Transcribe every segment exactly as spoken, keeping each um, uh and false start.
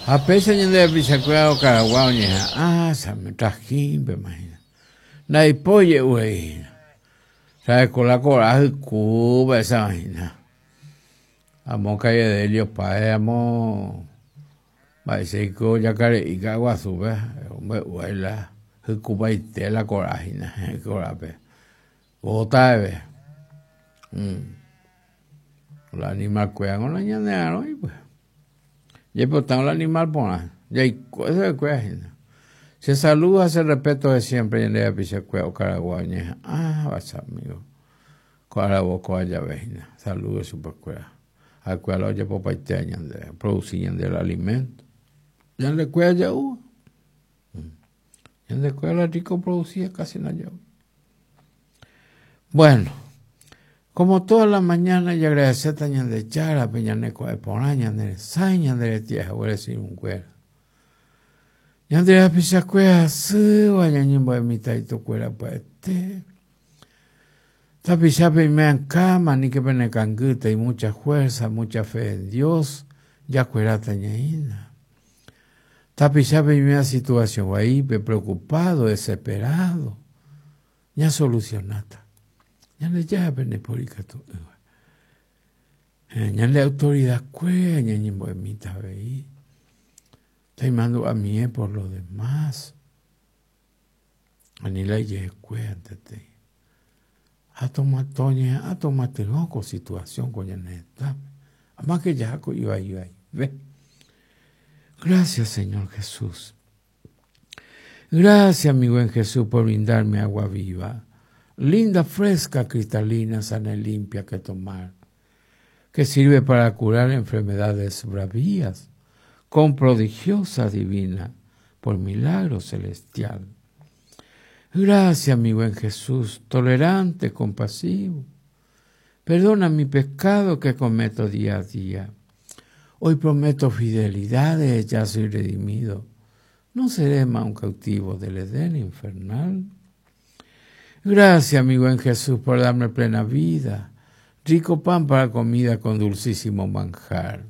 Ha péicha ñande rapichakuéra okaragua oñeha'ã trajímpema hína. Ndaipói je'uhína. Sabekola kora hykúva esa hína. Amo calle de Helio Páez, amo mba'éichaiko jakare'i Ka'aguasúpe ombe'uaila hykupaite la kora hína korápe. Bótave. La animalkuéra nañane'arõi pues. Jaipotárõ la animal porã. Jaiko chupekuéra hína. Se saluda, se respeto de siempre ñande rapichakuéra okaragua oñeha'ãva che amigo. Ko aravo kóva jave hína. Saludo chupekuéra. Ha'ekuéra la ojapopaitéva ñandéve. Produci ñande el alimento. Ñandekuéra ja'úva. Ñandekuéra la rico producía casi no ja'u. Bueno, como toda la mañana jaagradecéta Ñandejárape ñane ko'ẽ porã ñane resãi ñande retia'e irũnguéra. Ñande rapichakuéra hasýva ñañembo'e mitãitokuéra pya'ete. Tapichápe ime'ãkáma aníke penekangýta y mucha fuerza, mucha fe en Dios, jakueráta ñaína. Tapichápe ime'ã situación vaípe, preocupado, desesperado, ñasolucionáta. Ñandejárape ndaiporikatu'ỹva. Ñande autoridadkuéra ñañembo'emíta avei. Taimandu'amie por lo demás. Ani la ijehekuéra antetei. Toñeha'ã tomatyrõ ko situación ko ñane retãme. Amáke jaha ko ivaivaive. Gracias, Señor Jesús. Gracias, mi buen Jesús, por brindarme agua viva, linda, fresca, cristalina, sana y limpia que tomar, que sirve para curar enfermedades bravías, con prodigiosa divina, por milagro celestial. Gracias, mi buen Jesús, tolerante, compasivo. Perdona mi pecado que cometo día a día. Hoy prometo fidelidad, ya soy redimido. No seré más un cautivo del Edén infernal. Gracias, mi buen Jesús, por darme plena vida, rico pan para comida con dulcísimo manjar.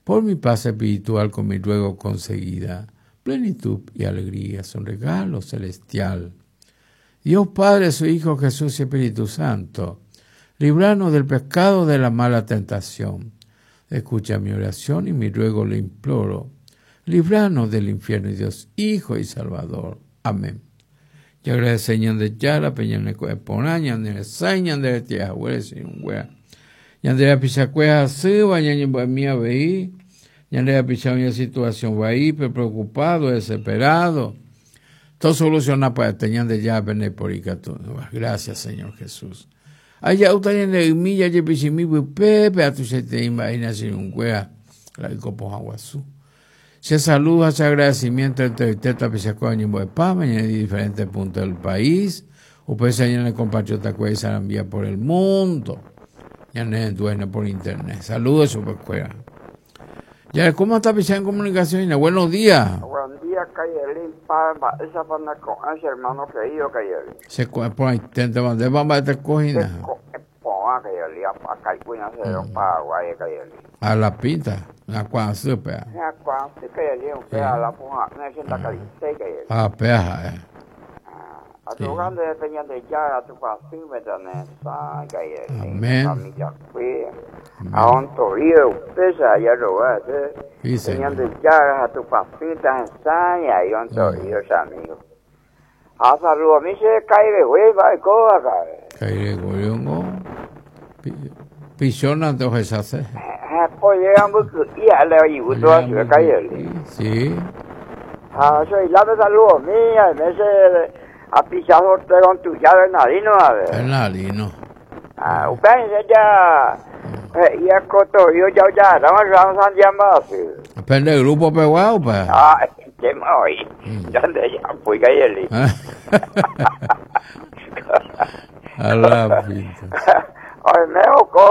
Por mi paz espiritual con mi ruego conseguida, plenitud y alegría son regalo celestial. Dios Padre, su Hijo Jesús y Espíritu Santo, líbranos del pecado de la mala tentación. Escucha mi oración y mi ruego le imploro. Líbranos del infierno, Dios, Hijo y Salvador. Amén. Y agradece Ñandejárape ñane ko'ẽ porã ñane resãi ñande retia'e irũnguéra. Ñande rapichakuéra hasýva ñañembo'emi avei. Ñande rapicha oĩ situación vaípe, preocupado, desesperado. Todo soluciona pya'ete Ñandejárape ndaiporikatu'ỹva. Gracias, Señor Jesús. Aja'úta ñande ymi jajepichimi pypépe atuichaitei mba'e irũnguéra la ykopohã guasu. Se saluda, se agradecimiento entre tapichakuéra oñembo'epáma en diferentes puntos del país. Upéicha ñane compatriota kuéra isarambia por el mundo. Ñane dueño por internet. Saludos chupekuéra. Ya, ¿cómo está tapicha en comunicación? Buenos días. Buen día, Cayelín, pa, esa pana con ese hermano querido Cayelín. Se coge por ahí, te mandé para te cogina. Se Cayelín. A la pinta, la cuanza, pea. La cuanza, Cayelín, pea, la puja, no sienta caliente, Cayelín. Ah, pea, eh. A tu grande de de ya, a tu pasín, me Cayelín. Amén. Familia, a un torío, pesa, ya lo va a hacer. Señor. De ya, a tu pasita, ensaña, y un torío, amigo. A saludo, a mí se cae de hueva, y coja, Cae de hueva, Pichona te ofrece. Pues llegamos y a la ayuda a su calle. Sí. Ah, soy la de saludo mía, me se a pisado con tu llave narino, a ver. El narino. Ah, usted ya ya coto, yo ya ya, vamos a llamar. Depende del grupo peguado, pues. Ah, qué mal. ¿Dónde ya fui calle? A la pinta. Ay, me